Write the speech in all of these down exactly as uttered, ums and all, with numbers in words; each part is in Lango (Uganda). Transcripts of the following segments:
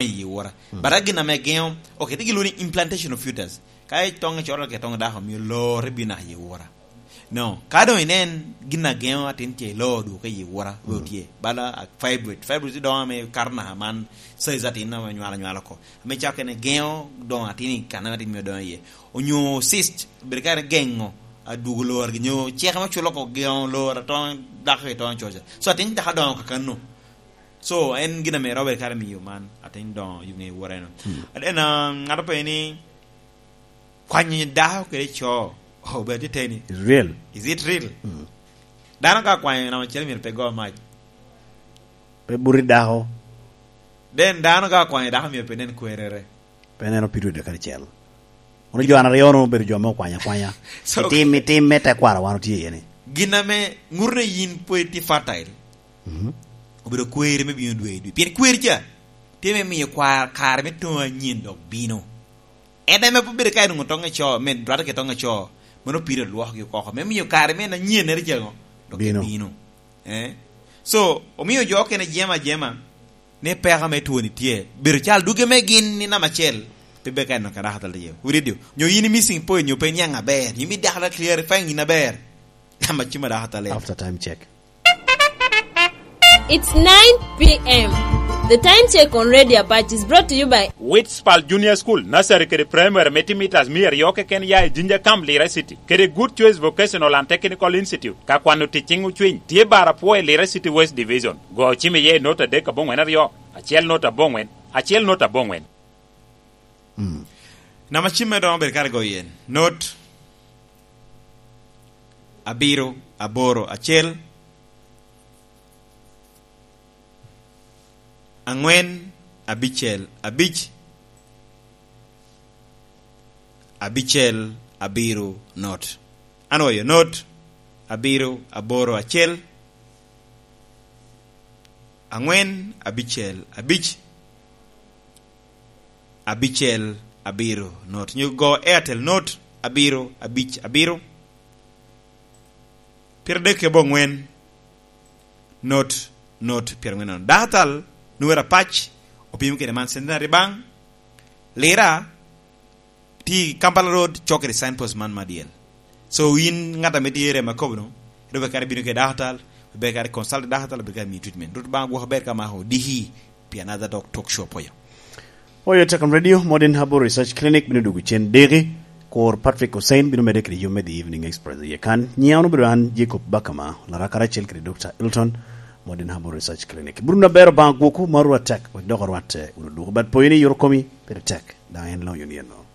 i wora. Mm. But a gin ame geŋo, okay, ti gilwongo ni implantation of fetus. Ka itoŋe coro ke toŋe dako, mio lore bino naka i wora. No, ka doŋ inen gin a geŋo atin tye i loo dwoke i wora, mm, otye. Bala, a, fibroid. Fibroid ti doŋo ame kato naka man, size atin ame nywalo nywalo oko. Ame cako kene geŋo doŋo atin i kan ame atin mio doŋo iye. Onyo cyst, bedo kare geŋo, a, dwogo lor, nyo cek ame culo oko geŋo lor, atoŋo dako i toŋo coca. So, atin dako doŋo kakano. So, en gin ame Robert kare miyo man, atin doŋo yuŋe i wora eno. Hmm. And then, um, ŋato pe ni, kwanyo dako kede co, obedo tye teni. It's real. Is it real? Hmm. Dano ka kwanyo namba acel myero pe go mac. Pe buti dako. Then dano ka kwanyo dako myero pe nen kwerere. Pe neno pido dek karacel. Ono jo an aryo no obedo jo me okwanya akwanya. So, itim, itim me tekwaro wan otye iye ni. Gin ame ŋuto ni yin pwod itye fertile. Mhm. Obedo kweri me bino dwe i dwe. Pien kweri ca, tye me miyo kwa-, kare me toŋo anyen dok bino. En ame pe bedo ka en onwoŋo toŋe co, me dwate ke toŋe co, mano pire olwokogi oko. Me miyo kare me en anyennere ca ŋo, dok bino. Bino. Eh? So, omio jo okene jema jema, ni peko me twoni tye. Bedo cal dugge me gin ni namba acel, pe beka en ka dako atal tye. Wiridio. Nyo yin i missing point, nyo pe iniaŋ aber. Yin mi dako atal clarifying yin aber. Namba cima dako atal. After time check. It's nine p m. The time check on Radio Apache is brought to you by Witspal Junior School, Nursery kede Primary, me timo meters mia aryo keken ya i Jinja Camp, Lira City, kede Good Choice Vocational and Technical Institute, ka kwano tic ciŋ ocwiny, tye bar apwo i Lira City West Division. Go cim iye i not adek aboŋwen aryo, acel not aboŋwen, acel not aboŋwen. Mm. Namba cim me doŋo bedo kare goyo yen. Not abiro aboro acel, aŋwen abicel abic, abicel abiro not. An oyo not abiro aboro acel, aŋwen abicel abic, abicel abiro not. Nyo go Airtel not abiro abic abiro, pyeradek kede aboŋwen, not, not pyeraŋwen nono. Dakatal Nuera Pac opimo kede man Centenary Bank, Lira, tye i Kampala Road, cok kede signpost man madyel. So, in ŋat ame tye i rem akobo no, ero be kare bino kede dakatal, be kare consult dakatal, be kare miyo treatment. Rwot Obaŋa gwoko ber ka mako odiki pi another talk, talk show apoyo. Oyo Tecom Radio, Modern Herbal Research Clinic, bino dugo cen diki. Kor Patrick Hussein bino medde kede yom me The Evening Express iye kan. Nyiŋa wun obedo an, Jacob Bakama, Laraka karacel kede Doctor Elton, Modern Herbal Research Clinic. Buru na bero baŋ gwoko ma rwat tek, wek dok orwatte wunu duko. But poyo ni yot okomi, pire tek, daŋ en loyo ni eno.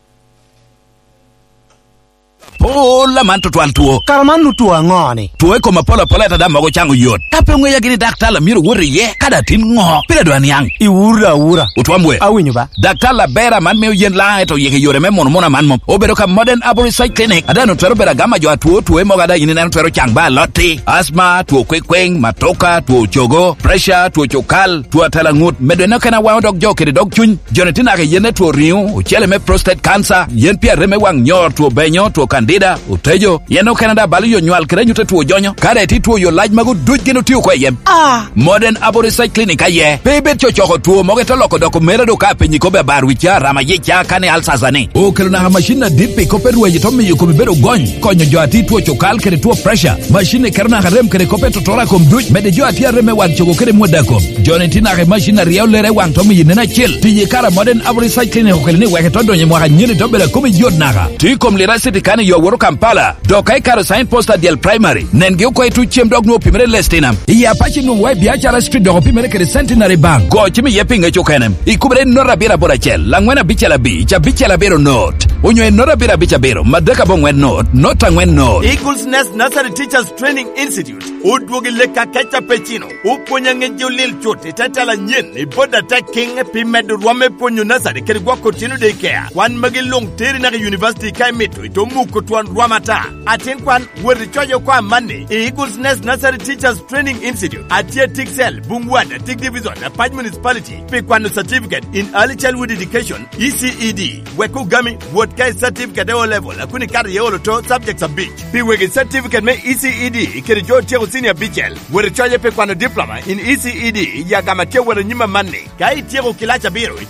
Pol aman tutwal two. Kara man nu two aŋo ni? Two i kom apol apol ata daŋ mogo caŋo yot. Ka pe oŋeya gini daktar a myero wot iye, kadi atin ŋo? Pire dwa niaŋ. Iwura awura. Otwam we. Awinyo ba. Daktar aber aman mio yen laŋ eto yeke yore me mono mono aman mom. Obedo ka Modern Herbal Research Clinic. Ada no twero bedo agama jo atwo two mogo ada yin ineno twero caŋ ba alotti. Asma, two kwekweng, matoka, two cogo, pressure, two cukal, two atalaŋut. Medo eno kena waŋo dok jo kede dog cuny. Joni tye naka i yen me two riŋo, ocele me prostate cancer, yen pi arem me waŋ nyor, two benyo, two candida, otejo, yen okene daŋ balo yo nywal kede anyut a two jonyo. Ka daŋ itye two yo lac magu duc gin otio oko i yem. Ah! Modern Herbal Research Clinic aye. Pe ibed cocoko two mogo ito loko doko mere do ka apenyi kobbe abar wica, rama yica, kane alsasa ni. Okelo naka macin adit pi kop pe rweny ito miyo komi bedo gony. Konyo jo a tye two cukal kede two pressure. Macin ni keto naka rem kede kop pe totora kom duc. Mede jo a tye arem me waŋ cogo kede mwada kom. Joni tye naka i macin aryo lere waŋ to miyo nen acel. Tiyo i kare a Modern Herbal Research Clinic okelo ni wek ito donyo i mwaka nyeni to bedo akomi yot naka. Tye i kom Lira City kan i yo woro Kampala. Dok ka ikaro sign post adyel primary, nengi oko i tuc cem dok nwoŋo opimere i Lestinam. I Apache nwoŋo wa i Biacara Street dok opimere kede Centenary Bank. Go cim iye pi ŋec okene. Ikubere i not abiro aboro acel, laŋwen abicel abic, abicel abiro not. Onyo i not abiro abic abiro, madek aboŋwen not, not aŋwen not. Eagles Nest Nursery Teachers Training Institute. Odwogo i lek akeca pe cino. Opwonyo aŋec jo lil cut i te tela anyen i bot atek kiŋ pi medo rwom me pwonyo nursery kede gwoko otino daycare. Kwan magi luŋ teri naka i university ka imito, ito muko twon rwom ata. Atin kwan, wot icoc oko amanni i Eagles Nest Nursery Teachers Training Institute. Atye Tiksel, Bungwat, Atik Division, Apac Municipality, pi kwano certificate in early childhood education, E C E D. Wek ogami, wot Ka i certificate de O level, a kun ikato iye olo to subjects abic. Pi wegi certificate me E C E D kede jo otyeko senior abicel, wot icoye pi kwano diploma in E C E D i agama tye wot anyim amanni. Ka ityeko kilac abiro, itye